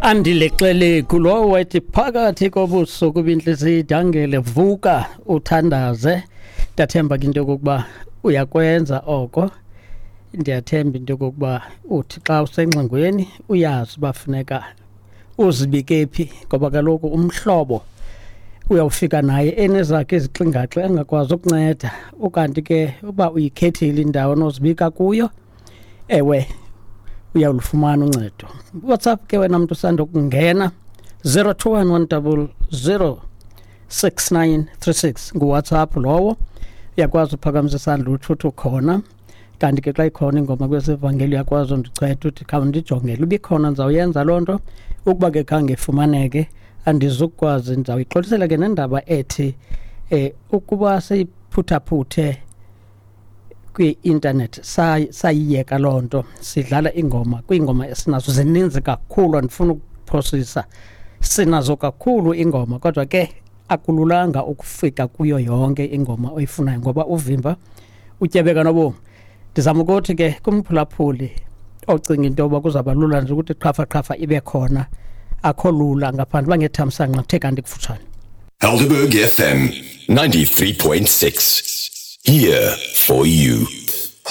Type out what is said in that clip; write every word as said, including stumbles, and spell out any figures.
Andile Xelegu lo wathi phakathi kobusuku bintliziyo idangele, vuka uthandaze. Ndathemba ke into yokokuba uyakwenza oko. Ndiyathemba into yokokuba uthi xa usengxingweni uyazi uba funeka uzibike phi, ngoba kaloku umhlobo uyawufika naye enezakhe izixingaxi engakwazi ukunceda. Ukanti ke uba uyikhethile indawo onozibika kuyo, ewe, uyawulufumana uncedo. WhatsApp ke wena mntu usanda ukungena, zero two one one double zero six nine three six nguWhatsApp lowo. Uyakwazi uphakamisa isandla utsho uthi ukhona. Kanti ke xa ikhona ingoma kwezevangeli uyakwazi undiceda uthi khawundijongele uba ikhona, ndizawuyenza loo nto. Ukuba ke khange ifumaneke, andizukwazi, ndizawuyixolisela ke nendaba ethi um ukuba seyiphuthaphuthe kwi-intanethi sayiyeka loo nto. Sidlala iingoma kwiingoma esinazo, zininzi kakhulu, andifuna ukuphosisa, sinazo kakhulu iingoma, kodwa ke akululanga ukufika kuyo yonke ingoma oyifunayo ngoba uvimba utyebeka nobomi. Ndizama ukuthi ke kumphulaphuli ocinga into yoba kuzawuba lula nje ukuthi qhafa qhafa ibe khona, akho lula ngaphandle uba ngethamsanqa kuthe kanti kufutshane. Helderberg F M ninety-three point six. Here for you.